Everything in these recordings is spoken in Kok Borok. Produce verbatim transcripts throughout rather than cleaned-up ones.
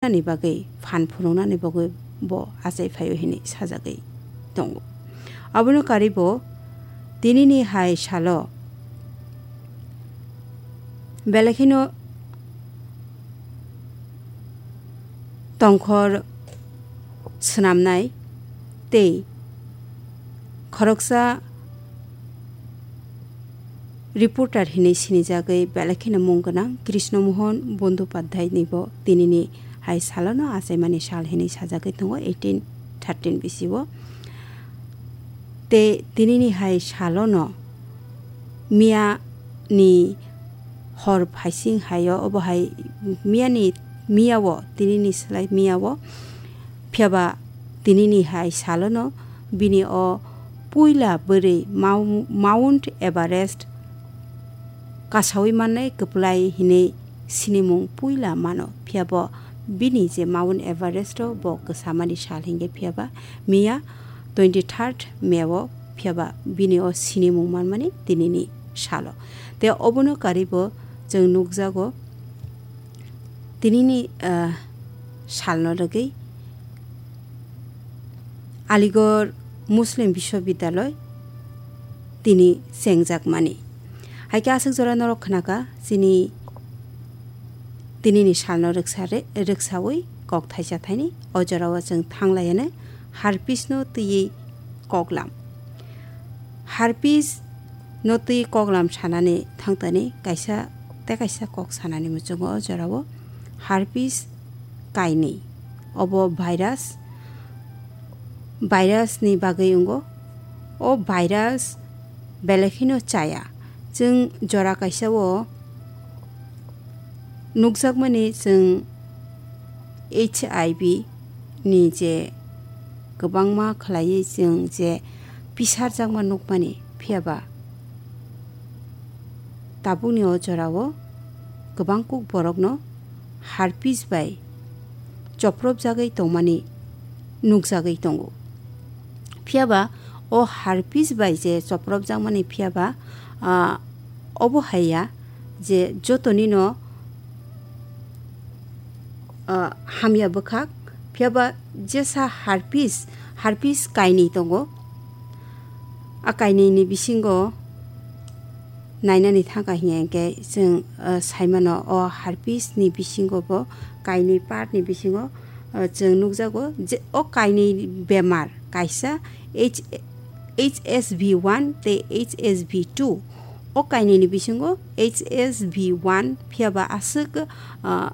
ni bagwi phan phunuknani bagwi bo achai phaio hinwi sajagwi tongo. Abono karwi bo tinini hai salo belai kheno tongkhor swnamnai tei khoroksa reporter hinwi sinijagwi belai kheno mung gwnang Krishna Mohan Bandopadhyay ni bo tinini hai salono achaimani sal hinwi sajagwi tongo eighteen thirteen bisio. Tei tinini hai salono miya ni hor phaising haio, obo hai miya ni, miya o, tinini slai miya o, phiya ba tinini hai salono bini o puila bwrwi Mau-, Mount Everest kasaui mannai kwplai hinwi sinimung puila mano. Phiya bo bini je Mount Everest o bo kwsamani sal hinkhe phiya ba miya twenty third May o phiya ba bini o sinimung manmani tinini salo. Tei obono karwi bo chwng nukjago tinini, ah, salno rwgwi Aligarh Muslim Biswabidyaloi tini chengjakmani. Hai khe aswk jora norok khnaka chini tinini salno rwksa re-, rwksaui kok thaisa thaini o jorao chwng thanglaiyanai harpis no twiwi koklam. Harpis no twi koklam sanani thangtani kaisa tei kaisa kok sanani muchungo o jorao harpis kainwi. Obo virus, virus ni bagwi wngo. O virus belai kheno chaya. Chwng jora kaisa o nukjakmani chwng H I V ni je kwbangma khlaiwi chwng je pisarjakma nukmani, phiya ba tabukni o jorao kwbang kuk borokno harpis bai chopropjagwi tongmani nukjagwi tongo. Phiya ba o harpis bai je chopropjakmani, phiya ba, ah, obo hai ya je jotonino, ah, hamya bwkhak, phiya ba jesa harpis, harpis kainwi tongo. A kainwini bisingo nainani thangkha hinkhe chwng, ah, saimano o harpis ni bisingo bo kainwi part ni bisingo, ah, chwng nukjago je o kainwi bemar kaisa H-, H S V one tei H S V two. O kainwini bisingo H S V one phiya ba aswk, ah,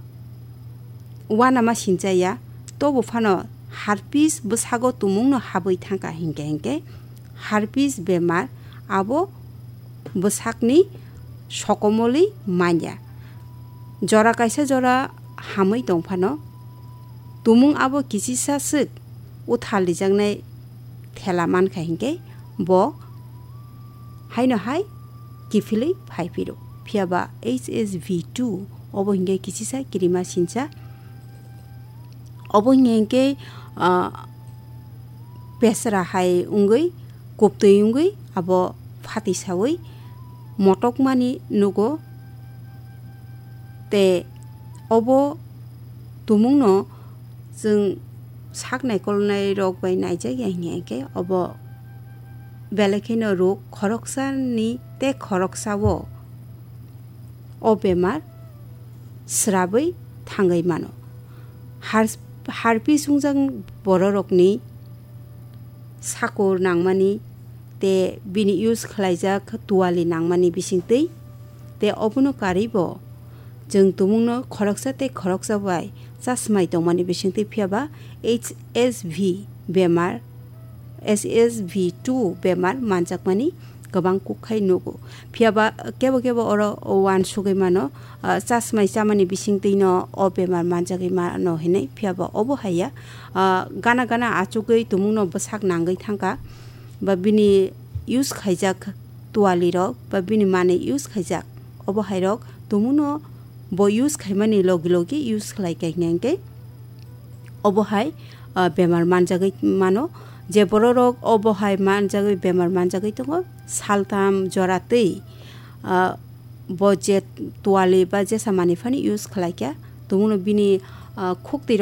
uanama sinchaya, tobo phano harpis bwsago tumungno habwi thangkha hinkhe hinkhe harpis bemar abo bwsakni sokomolwi manya. Jora kaisa jora hamwi tongphano tumung abo kichisa swk uthal rijaknai thela mankha hinkhe bo haino hai kiphilwi phaiphiro. Phiya ba H S V two obo hinkhe kichisa kirima sincha. Obo hinkhe, ah, pesra hai wngwi, kuptwi wngwi abo phatisaui motokmani nugo. Tei obo tumungno chwng sak naikolnai rok bai naijak ya hinkhe obo belai kheno rok khoroksani tei khoroksao o bemar srabwi thangwi mano. Har-, harpis wngjak bororokni sakur nangmani tei bini use khlaijak tuwali nangmani bisingtwi. Tei obono karwi bo chwng tumungno khoroksa tei khoroksa bai chasmai tongmani bisingtwi, phiya ba H S V bemar, H S V two bemar manjakmani kwbang kuk khai nugo. Phiya ba kebo kebo oro uansugwi mano, ah, chasmai chamani bisingtwi no o bemar manjagwi mano hinwi, phiya ba obo hai ya. Ah, gana gana achugwi tumungno bwsak nangwi thangkha, ba bini use khaijak tuwali rok, ba bini manwi use khaijak, obo hai rok tumungno bo use khaimani logi logi use khlai kha hinkhe obo hai, ah, bemar manjagwi mano. Je bororok obo hai manjagwi bemar manjagwi tongo, saltam jora twi, ah, bo je tuwali ba jesa manwi phano use khlai kha, tumungno bini, ah, khuk twi